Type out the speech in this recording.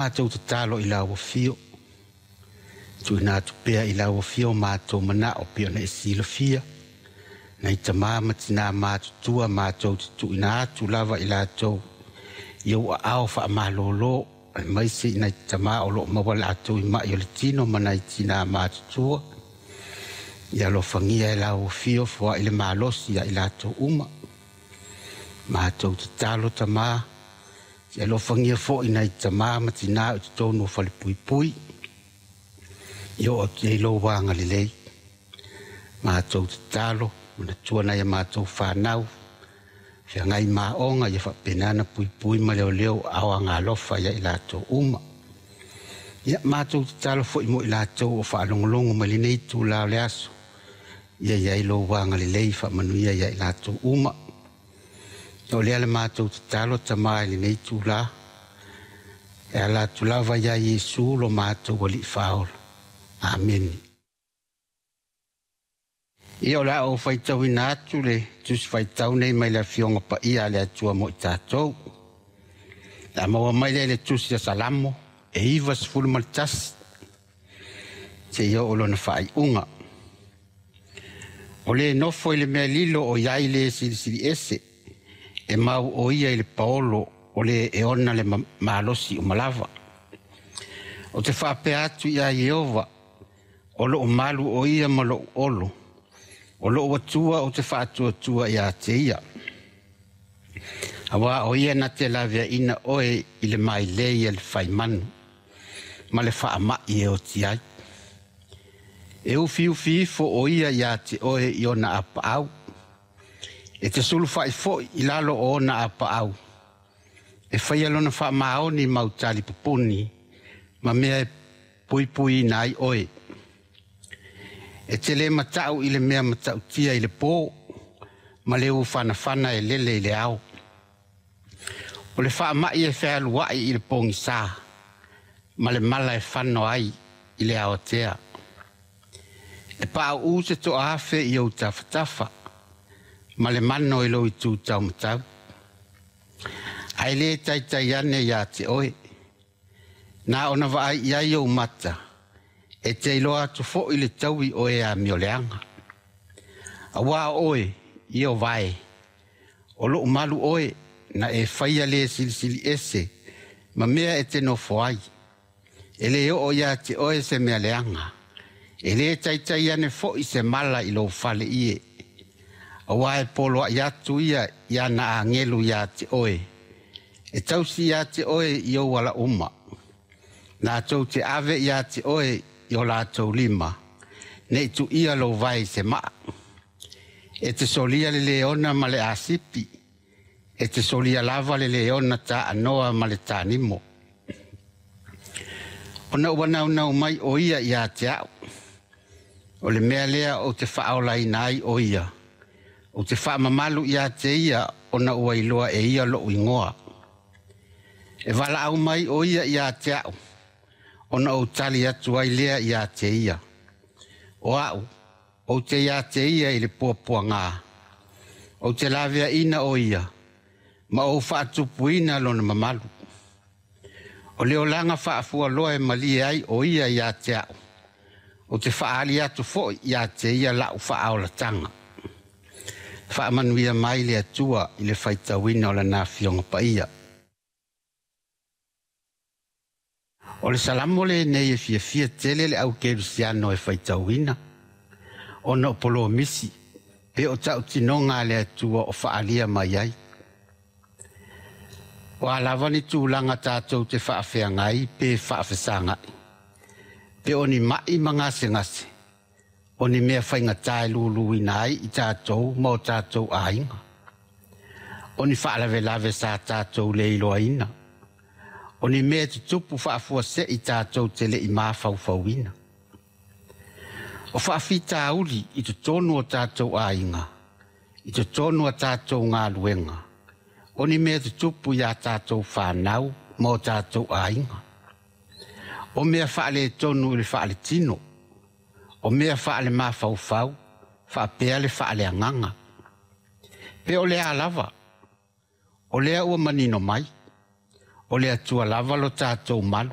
Matou tatalo i lau Afio, tuuina atu pea i lau Afio matou manao pei ona e silafia, nai tama ma tina matutua matou te tuuina atu lava i latou i ou aao faamalolo, aemaise i nai tama o lo o maua latou i mai o le tino ma nai tina matutua. Ia alofagia e lau Afio foai le malosi ia i latou uma. Matou tatalo Tama, se alofagia foi nai tama ma tina i totonu o falepuipui, ia oo atu i ai lou agalelei. Matou tatalo, manatua nai a matou fanau, feagai ma aoga, ia faapena ona puipui ma leoleo aao agalofa ia i latou uma. Ia matou tatalo foi mo i latou o faalogologo mai lenei itula o le aso, ia i ai lou agalelei faamanuia ia i latou uma. O lea le matou tatalo Tama i lenei itula, e ala atu lava ia Iesu lo matou Alii Faaola. Amene. Ia o le a ou faitauina atu le Tusi Faitau nei mai le Afioga Paia a le Atua mo i tatou. Le a maua mai lea i le Tusi a Salamo e 91 seia oo lona faaiuga. O le nofo i le mea lilo o i ai le silisili ese, e mau o ia i le paolo o le e ona le malosi uma lava. O te faapea atu ia Ieova, o lou malu o ia ma lou olo, o lou Atua ou te faatuatua ia te ia. Auā o ia na te laveaina oe i le mailei a le faimanu ma le faamai e oti ai. E ufiufi ifo o ia ia te oe i ona apaau, e te sulufai foi i lalo o ona apaau, e faia lona faamaoni mau talipupuni ma mea e puipuiina ai oe. E te le matau i le mea matautia i le po, ma le ufanafana e lele i le ao. O le faamai e fealuai i le pogisa, ma le mala e fano ai i le aotea. E pauu se toaafe i ou tafatafa, ma le mano i lou itu taumatau. Ae le taitai ane ia te oe, na ona vaai i ai ou mata, e te iloa atu foi le taui o e amioleaga. Auā o oe, Ieova e, o lou malu oe, na e faia le silisili ese ma mea e te nofo ai. E le oo ia te oe se mea leaga, e le taitai ane foi se mala i lou fale ie. Auā e poloai atu ia i ana agelu ia te oe, e tausi ia te oe i ou ala uma. Latou te ave ia te oe i o latou lima, nei tuia lou vae i se maa. E te solia le leona ma le asipi, e te solia lava le leona taanoa ma le tanimo. Ona ua naunau mai o ia ia te au, o le mea lea ou te faaolaina ai o ia, ou te faamamalu ia te ia ona ua iloa e ia lou igoa. E valaau mai o ia ia te au, ona ou tali atu ai lea ia te ia. O au, ou te ia te ia i le puapuaga, ou te laveaina o ia, ma ou faatupuina lona mamalu. O le olaga faafualoa e malie ai o ia ia te au, ou te faaali atu foi ia te ia lau faaolataga. Faamanuia mai le Atua i le faitauina o lana Afioga Paia. O le Salamo lenei e fiafia tele le au kerisiano e faitauina, ona o polomisi pe o tautinoga a le Atua o faalia mai ai. O a lava ni tulaga tatou te faafeagai pe faafesagai, pe o ni mai ma gasegase, o ni mea faigata e luluina ai i tatou ma o tatou aiga, o ni faalavelave sa tatou le iloaina, o ni mea e tutupu faafuasei tatou te le i mafaufauina. O faafitauli i totonu o tatou aiga, i totonu o tatou galuega, o ni mea tutupu iā tatou fanau ma o tatou aiga. O mea faaletonu i le faaletino, o mea faalemafaufau, faapea le faaleagaga. Pe o le a lava, o lea ua manino mai, O le Atua lava lo tatou malu.